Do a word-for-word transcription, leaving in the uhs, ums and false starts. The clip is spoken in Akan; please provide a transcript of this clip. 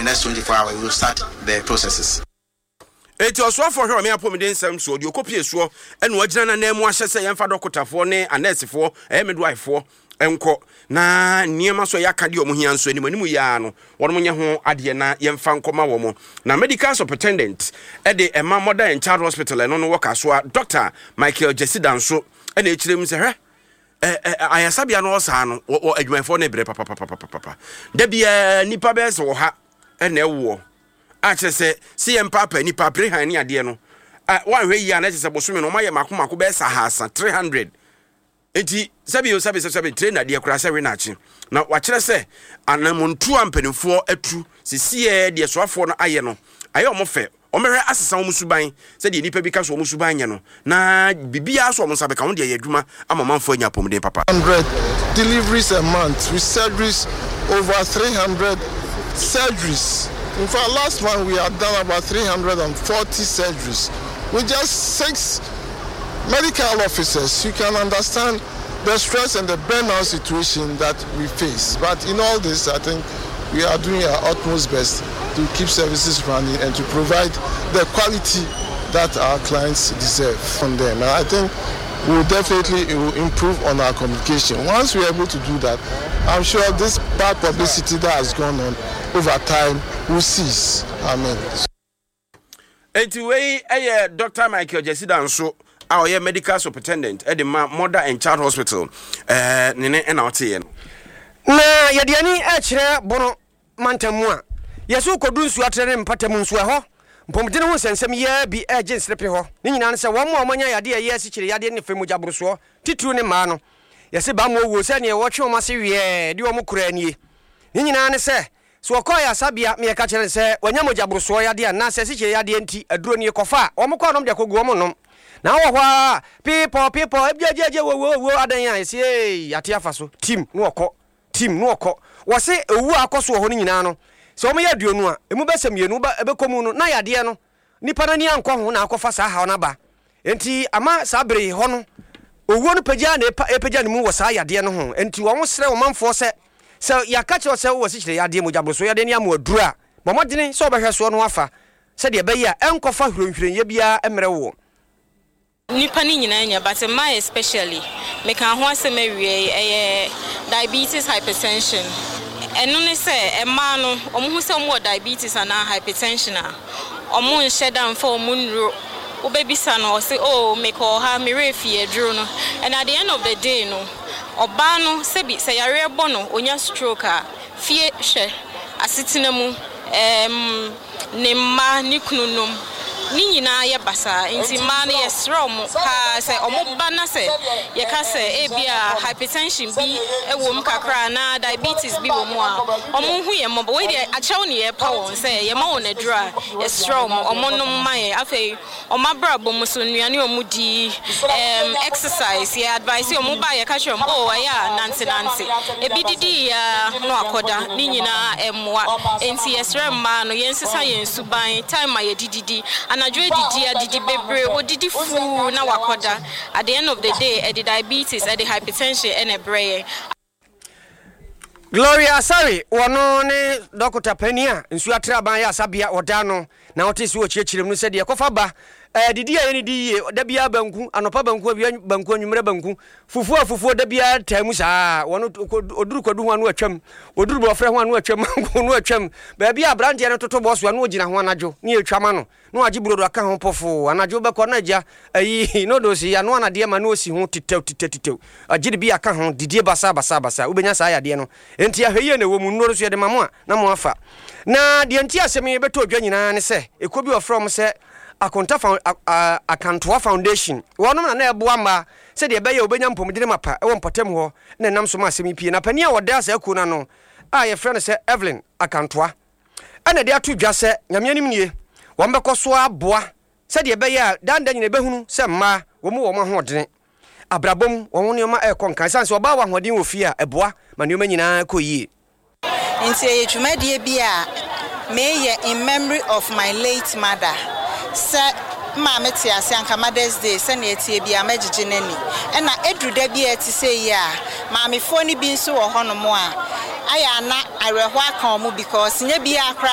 next twenty-four hours, we will start the processes. Eti ɔsoafoɔ hwɛ ɔme apɔmuden nsɛm soɔ deɛ ɔkɔpie soɔ ɛna wagyina n'anan mu ahyɛ sɛ yɛmfa dɔkotafoɔ ne anɛɛsefoɔ, ɛyɛ midwifefoɔ, nkɔ na nneɛma so ɛyɛ aka deɛ ɔmo hia nso anim anim yia no wɔn nyɛ ho adeɛ na yɛmfa nkɔma wɔn. Na medical superintendent ɛde ɛma Mother and Child Hospital, ɛno no wɔ Kasoa, Doctor Michael Jesida nso ɛna ekyirɛ mu sɛ hwɛ ɛ ɛ ayasabea no ɔsaa no wɔ adwumayɛfoɔ no brɛ papapapapapa. Da biara nipa bɛyɛ sɛ wɔ ha ɛna ɛwoɔ a kyerɛ sɛ sɛ yɛn paapa nipa apere han ne adeɛ no a wɔanhwɛ yie a na kyerɛ sɛ bosome no wɔayɛ mako mako bɛyɛ sɛ ahasa three hundred. Nti sɛbi o, sɛbi sɛbi tire nadeɛ koraa sɛ we n'akyi na wakyerɛ sɛ anamontuo a mpanimfoɔ atu sisiɛ deɛ soafoɔ no ayɛ no ayɛ ɔmo fɛ. Ɔmɛhwɛ asesa wɔn suban sɛdeɛ nipa bi ka so wɔn suban nyɛ no na biribiara so wɔn nsa bɛka wɔn deɛ yɛ adwuma ama ɔmanfoɔ anya apɔmuden papa. Hundred deliveries a month with surgeries, over three hundred surgeries. In fact, last month we had done about three hundred forty surgeries with just six medical officers. You can understand the stress and the burnout situation that we face. But in all this, I think we are doing our utmost best to keep services running and to provide the quality that our clients deserve from them. And I think we will definitely, it will improve on our communication. Once we are able to do that, I'm sure this bad publicity that has gone on over time will cease. Amen. Eti wei ɛyɛ Doctor Michael Jesida nso a ɔyɛ medical superintendent ɛde ma Mother and Child Hospital, ɛɛ ne ne ɛna ɔteɛ no. Na yɛde ani ɛkyerɛ Bono mantam mu a yɛso kɔdu nsuo atrɛ ne mpata mu nso, ɛhɔ mpɔmuden ho nsɛnsɛm yɛ bi ɛgye nserepe hɔ ne nyinaa no sɛ wɔn a wɔanya yadeɛ ɛyɛ asikyire yadeɛ ne fɛ mogya borosoɔ, titiriw ne mmaa no, yɛse ba ma owuo sɛ neɛ wɔtwe wɔn ase wiɛɛ de wɔn kora nie. Ne nyinaa ne sɛ sɛ wɔkɔɔ ayasabea ma yɛka kyerɛ no sɛ wanya mogya borosoɔ yadeɛ anaasɛ asikyire yadeɛ nti aduro nie kɔfa a, wɔn kɔ anom de akɔgu wɔn nom na wɔ hɔ a piipɔ piipɔ ebiagyagya wo wo adan a yɛsi ee ate afa so tim na wɔkɔ tim na wɔkɔ. Wɔse owu a akɔ so wɔ hɔ no nyinaa no, sɛ wɔn yɛ aduonu a, emu bɛsɛ mmienu ba ɛbɛkɔ mu no na yadeɛ no nipa n'ani ankɔ ho na akɔfa saa haw n'aba. Nti ama saa bere hɔ no owuo no pagya na epa epagya ne mu wɔ saa yadeɛ no ho. Nti wɔn srɛ wɔn manfoɔ sɛ sɛ yɛaka kyerɛ sɛ wowɔ sikyire yadeɛ, mogya boroso yadeɛ ne amu aduro a, bɔ mmɔdene sɛ wɔbɛhwɛ soɔ no afa sɛdeɛ ɛbɛyɛ a ɛnkɔfa hwirenhwirenyɛ biara mmerɛ wɔ. Nipa no nyinaa nya, but mmaa especially, meka ho asɛm awie. Ɛyɛ diabetes, hypertension. Ɛno ne sɛ mmaa no ɔmo ho sɛ ɔmo wɔ diabetes anaa hypertension a, ɔmo nhyɛ da mfa ɔmo nnuro. Wobɛbisa no, ɔse, "Oh, mekɔɔ ha, merɛ fie aduro no." And at the end of the day no, ɔbaa no sɛbi sɛ yareɛ bɔ no, onya stroke a, fie hwɛ asetena mu, ɛɛm ne mma ne kunu nom ne nyinaa yɛ basaa. Nti mmaa no, yɛsrɛ ɔmo paa sɛ ɔmo ba na sɛ yɛka sɛ ebia hypertension bi wɔ mu kakra anaa diabetes bi wɔ mu a, ɔmo hu yɛn mmɔbɔ. Wei deɛ, akyɛw ne yɛpa wɔn sɛ yɛma wɔn aduro a, yɛsrɛ ɔmo ɔmo nom ma yɛn. Afei ɔmo abrabɔ mu so, nnuane ɔmo di, ɛɛm exercise, yɛ advice ɔmo ba, yɛka kyerɛ ɔmo, oh, ɛyɛ a nante nante, ebi didi ya no akɔda ne nyinaa ɛmmoa. Nti yɛsrɛ mmaa no, yɛnsesa yɛn suban, time a yɛdididi anadwo, adidi adidi bebree, odidi fuu na wakɔda. At the end of the day, ɛde diabetes, ɛde hypertension ɛna ɛbrɛ yɛn. Gloria Asare, wɔno ne dɔkota panin a nsuo atre aban ayasabea wɔda no na wɔte so wɔ kyerɛkyerɛ mu no sɛdeɛ ɛkɔfa ba ɛɛ didi a yɛne di yie da biara, banku anɔpa, banku awia, banku anwummerɛ, banku fufuo a fufuo da biara taa mu saa. Wɔno oduru kwadu ho ano atwam, oduru bɔfrɛ ho ano atwam, mango no atwam, baabi a aberanteɛ no toto bɔ so ano ogyina ho anadwo ne yɛtwa ma no na wagye burodo aka ho pɔfoo. Anadwo bɛkɔ na agya ayi noodles yi ano anadeɛ ma na osi ho titɛw titɛw titɛw, agye de bi aka ho, didie basa basa basa. Wobɛnya saa yadeɛ no. Enti ahwɛ yie na ɛwɔ mu. Nnuro so yɛde ma mo a na mo afa. Na deɛ nti asɛm yi bɛtɔ odwa nyinaa ne sɛ ekuo bi wɔfrɛ wɔn sɛ Akonta Found, Akantoa Foundation, wɔnom na na ɛboa mmaa sɛdeɛ ɛbɛyɛ a wɔbɛnya mpɔmudene mapa ɛwɔ mpɔtam hɔ na ɛnam so ma asɛm yi pie. Na panin a wɔda saa kuo no ano a yɛfrɛ no sɛ Evelyn Akantoa ɛna de ato dwa sɛ Nyame anim nie, wɔn bɛkɔ so aboa sɛdeɛ ɛbɛyɛ a danda nyina ɛbɛhunu sɛ mmaa wɔn mu wɔ wɔn ahoɔdene abrabɔ mu, wɔn nneɛma ɛrekɔ nkan, ɛsiane sɛ ɔbaa wɔ ahoɔden wɔ fie a, ɛboa ma nneɛma nyinaa kɔ yie. Nti ɛyɛ dwumadie bi a meyɛ in memory of my late mother. Sɛ maame te ase anka Mother's Day sɛnea ɛtie bi a mɛgyegye n'ani. Ɛna ɛduru da bi a ɛte sɛ yi a, maamefoɔ no bi nso wɔ hɔnom a ayɛ ana awerɛhoɔ aka wɔn because nyɛ biara koraa.